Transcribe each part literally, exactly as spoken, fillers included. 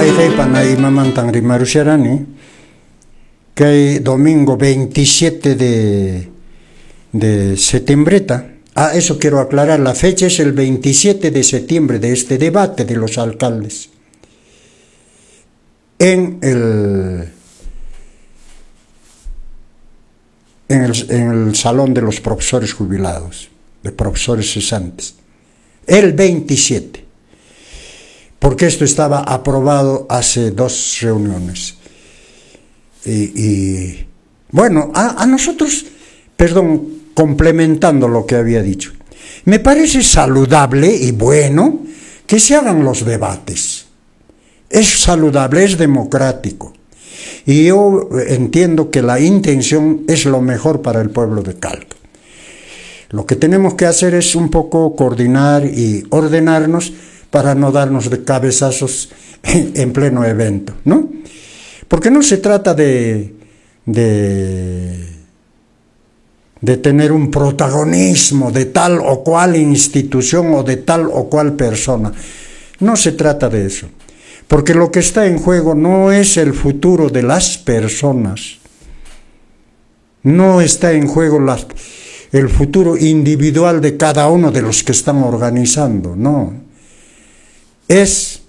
Wayqey imamantan rimarusharani kay domingo veintisiete de, de septiembreta. Ah, eso quiero aclarar, la fecha es el veintisiete de septiembre de este debate de los alcaldes. En el, en el, en el Salón de los Profesores Jubilados, de profesores cesantes. El veintisiete. Porque esto estaba aprobado hace dos reuniones. Y, y bueno, a, a nosotros, perdón, complementando lo que había dicho, me parece saludable y bueno que se hagan los debates. Es saludable, es democrático. Y yo entiendo que la intención es lo mejor para el pueblo de Calca. Lo que tenemos que hacer es un poco coordinar y ordenarnos para no darnos de cabezazos en pleno evento, ¿no? Porque no se trata de, de, de tener un protagonismo de tal o cual institución o de tal o cual persona. No se trata de eso. Porque lo que está en juego no es el futuro de las personas. No está en juego las, el futuro individual de cada uno de los que están organizando, no. Es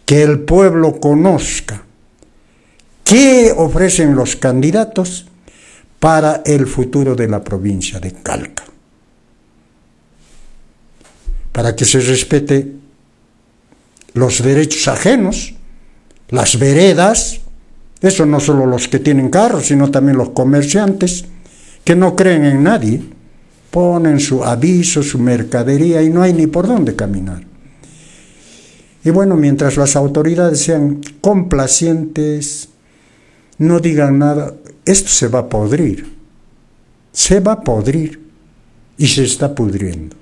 que el pueblo conozca qué ofrecen los candidatos para el futuro de la provincia de Calca. Para que se respete los derechos ajenos, las veredas, eso no solo los que tienen carros, sino también los comerciantes, que no creen en nadie, ponen su aviso, su mercadería y no hay ni por dónde caminar. Y bueno, mientras las autoridades sean complacientes, no digan nada, esto se va a podrir, se va a podrir y se está pudriendo.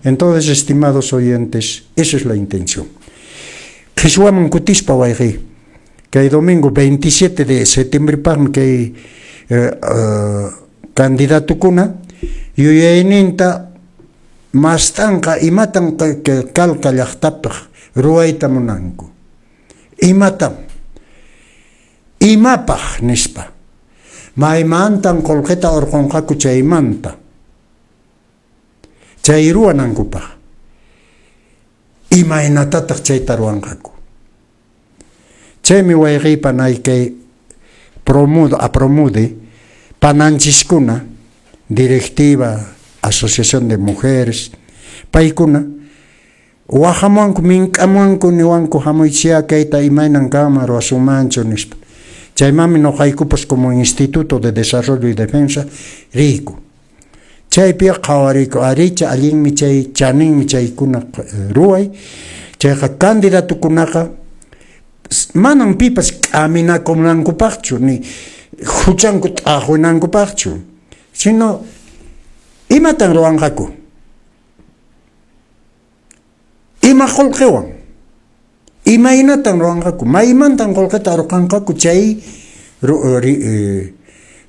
Entonces, estimados oyentes, esa es la intención. Qhichwaman kutispa wayqi, kay domingo veintisiete de septiembre paqmi kay eh, uh, candidatukuna yuyayninta mastanqa imatan Calca llaqtapaq ruwayta munanku. Imatam imapaq nispa. Maymantan qullqita urqunqaku chaymanta. Chay ruwanankupaq. Imaynatataq chayta ruwanqaku. Chaymi wayqiypa nay kay promudo, apromude pananchiskuna, directiva, asociación de mujeres, paykuna wahamuanku mink'amuanku niwanku hamuychiya kayta imaynan kanman ruwasunmanchu nispa. Chaymanmi nuqaykupas como Instituto de Desarrollo y Defensa riyku. Chaypi qhawariyku aricha allinmi chay chaninmi chaykuna ruway. Chayqa candidatukunaqa manan pipas k'aminakunankupaqchu ni huchanku t'aqwinankupaqchu, sino imatan ruwanqaku, ima qullqiwan, imaynatan ruwanqaku, maymantan qullqita arqanqaku chay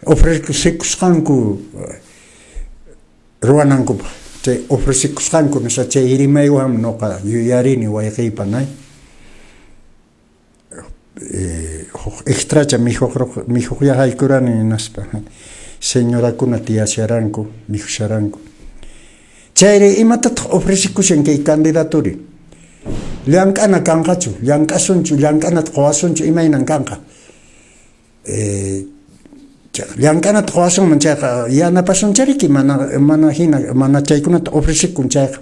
ofrecekusqanku ruwanankupaq. Chay ofrecekusqanku nisqa chay rimaywan nuqa yuyarini wayqiypa nay. Eh, extracha mikhuq mikhuqya haykurani hinaspa señorakuna tiyasharanku mikhusharanku. Chayri imatataq ofrecekushan kay candidaturi? Llank'ana kanqachu, llank'asunchu, llank'anata quwasunchu, imaynan kanqa? Eh, llank'anata quwasunman chayqa yanapasunchariki mana mana hina mana chaykunata ofrecekun chayqa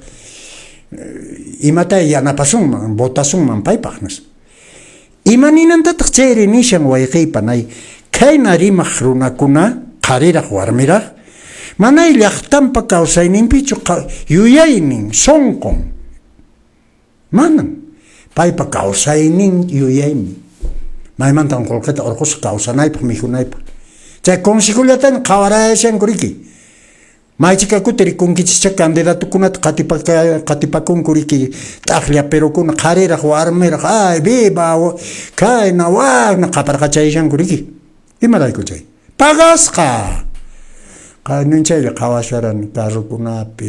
imata yanapasunman, votasunman paypaq nispa. Ima ninantataq chayri nishan wayqiypa nay khayna rimaq runakuna qhariraq warmiraq manay llaqtanpa kawsayninpichu yuyaynin sunqun manan paypa kawsaynin yuyaymi maymantan qullqita urqusaq kawsanaypaq mikhunaypaq chay consejollatan qhawarayashanku riki maychika kuti rikunkichikcha candidatukunata qatipaka qatipakunku riki t'aqlla perukuna qhariraq warmiraq ay viva khayna wakna qaparqachayashanku riki imarayku chay pagasqa qanun chaylla qhawasharani carrokunapi.